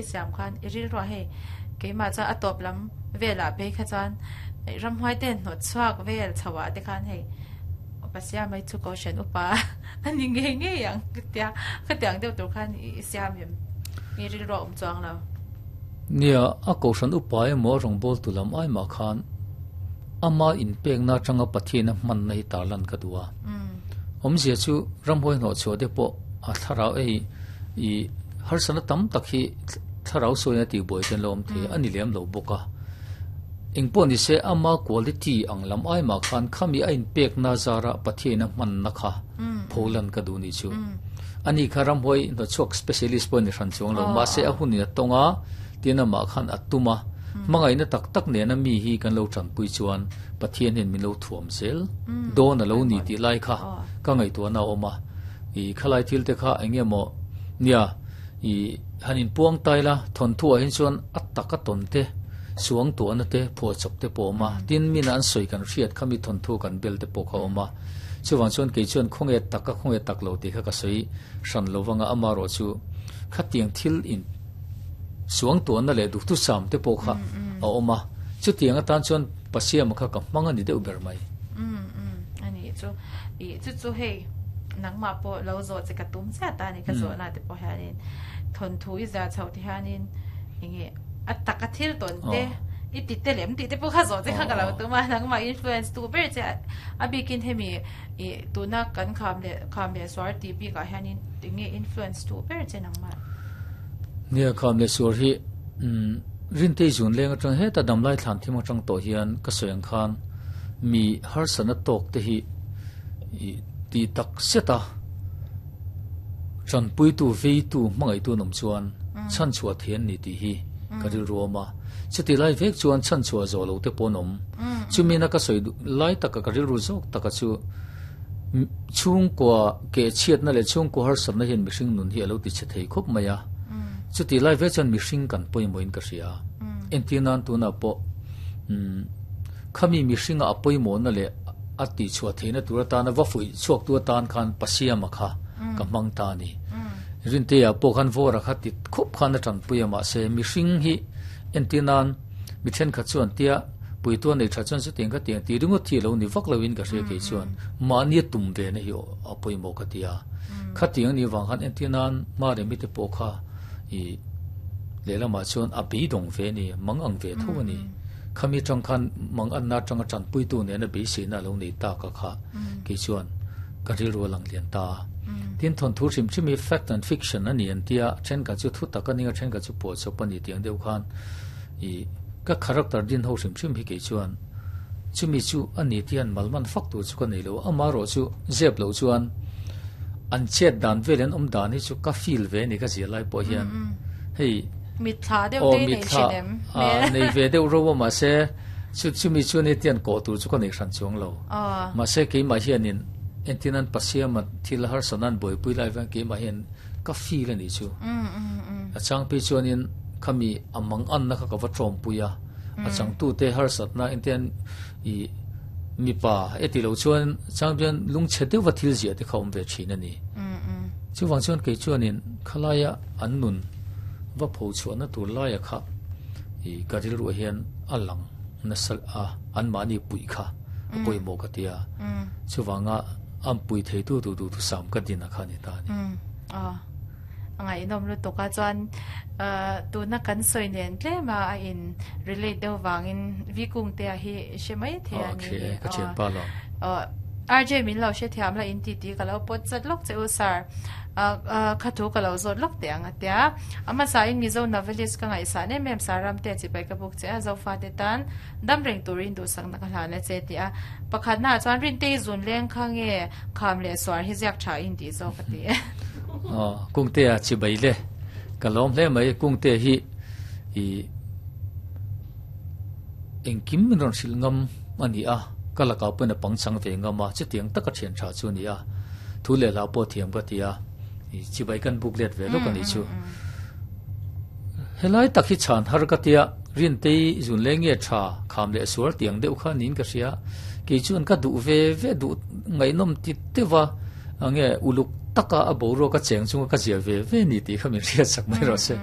I siam khan i rilruah hei keimah chuan a tawp lam velah phei kha chuan ramhuai te hnawt chhuak vel chho ah te khan hei Pasia mai chu Kohhran upa a ni ngei ngei ang ka tia khatiang deuh tur khan i siam em i rilruah awm chuang lo. Nia, a Kohhran upa emaw a rawngbawltu lam ai mah khan ama inpekna atanga Pathian a hmanna hi tarlan ka duh a. Awmzia chu ramhuai hnawhchhuah te pawh a thlarau ei i harsatna tam tak hi thlarau sawiin a tihbuai te an lo awm thei a, a ni lem lo bawk a. Engpawh ni se ama quality ang lam ai mah khan khami a inpekna zara Pathiain a hmanna kha pholan ka duh nih chu. Ani kha ramhuai hnawchhuak specialist pawh a ni hran chuang lo, mahse a hunin a tawng a, tin amah khan a tum a, hmangaihna tak tak nena mi hi kan lo tanpui chuan Pathian hian min lo thuam zel dawn a lo ni tih lai kha ka ngaihtuahna a awm a, i khalai thil te kha eng nge maw nia i han inpuang tai la thawnthuah hian chuan a tak a tawn te suang tuahna te phuahchawp te pawh a awm a, tin mina an sawi kan hriat kha mi thawnthu kan bel te pawh kha a awm a, chuvang chuan kei chuan khawnge tak a khawnge tak lo tih kha ka sawi hran lo vanga amaherawh chu khatiang thil in Suang tuahna leh duhthusam te pawh kha a awm a, chutiang atan chuan Pasiama kha ka hmang a ni deuh ber mai. Umm umm a nih chu. Ih chu chu hei nangmah pawh lo zawh che ka tum chiah ta a ni ka zawhna te pawh hianin thawnthu i zah chhoh te hianin enge a taka thil tawn te i ti te lem tih te pawh kha zawh che kha ka lo tum a, nangmah influence tu ber che a bikin hemi ih tuna kan kham leh kham leh suar tih bikah hianin enge influence tu ber che nangmah. Nia kham leh suar hi Rintei zun leng atang heta damlai thlan thim atang tawh hian ka sawi ang khan mi harsatna tawk te hi ti tak zet a tanpuitu veitu hmangaihtu an awm chuan chhanchhuah thei an ni tih hi ka rilru awm a chutih lai vek chuan chhanchhuah zawh lo te pawh an awm chumi na ka sawi lai taka ka rilru zawk taka chu Chhungkua keh chhiatna leh chhungkua harsatna hian mihring nun hi a lo ti chhe thei khawp mai a. Chutih lai ve chuan mihring kan pawimawhin ka hria. Entir nan tunah pawh khami mihringa a pawimawhna leh a tihchhuah theihna tur atana va fuih chhuaktu atan khan Pasiama kha ka hmang ta a ni. Rintea pawh khan Vawra kha ti khawp khan a tanpui a mahse mihring hi entir nan Mi thenkhat chuan tia puitu a nei tha chuan chutiang ka tiang tih ringawt hi a lo ni vak loin ka hria kei chuan mahni a tum ve na hi a pawimawh ka ti a. Khatiang a nih avang khan entir nan Maremi te pawh kha i lehlamah chuan a beidawng ve a ni, mang ang ve tho a ni. Khami atang khan mang anna atanga tanpuitu nena beiseina a lo nei tak a kha kei chuan ka rilru a lang lian ta a. Tin thawnthu hrim hrim hi fact and fiction a ni an tia, thenkhat chu thu tak a ning a thenkhat chu puahchawp a ni tiang deuh khan I ka character din ho hrim hrim hi kei chuan chumi chu a ni tian malman fak tur chu ka nei lo ama erawh chu zep loh chuan an chet dan vel an awm dan hi chu ka feel ve a ni ka zia lai pawh hian hei mitthla deuh te nei thin em nei ve deuh ro a mahse chu chumi chu ni tian kawh tur chu ka nei hran chuang lo mahse keimah hianin entin an pasiama thil harsatna an buaipui lai vang keimah hian ka feel a nih chu a chang phei chuanin khami a mang anna kha ka va tawmpui a a changtute harsatna engtian i mipa e ti lo chuan chang chuan lungchhe deuha thil ziah te kha awm ve thin a ni chuvang chuan kei chuanin khalaia an nun va pho chhuahna tur laia kha i ka rilruah hian a lang nasa a anmahni puih kha a pawimawh ka tia chuvanga an pui theitu tur duhthusam ka din a kha a ni ta a ni. A ngaihnawm lutuk a chuan tuna kan sawi nen tlem a a in relate deuh vangin V Kungtea hi i hre mai thei a ni. Okay, ka thian pa lo. RJ min lo hre thiam la in ti ti ka lo pawt chat lawk che u sir. Kha thu ka lo zawt lawk teh ang a tia. A hmasa in Mizo novelist ka ngaihsan em em Saramte chibai ka buk che a Zofate tan dam reng turin duhsakna ka hlan a che ti a. Pakhatna ah chuan Rintei zun leng kha nge kham leh suar hi ziak tha in tih zawk a ti e. Aw, Kungtea chibai le. Ka lawm hle mai Kungtea hi i engkim min rawn hrilh ngam a ni a, ka lakah pawhin a pangchang ve ngam a, chutiang taka thian tha chu a ni a. Thu leh hla pawh thiam ka ti a, i chibai kan buk let ve lawk a nih chu. Helai tak hi chhan har ka tia, Rintei zun leng nge tha kham leh sual tiang deuh kha niin ka hria. Kei chuan ka duh ve ve duh ngaihnawm ti deuh a, nge uluk taka a boruak a cheng chunga ka zia ve ve ni tih kha min hriat sak mai rawh se.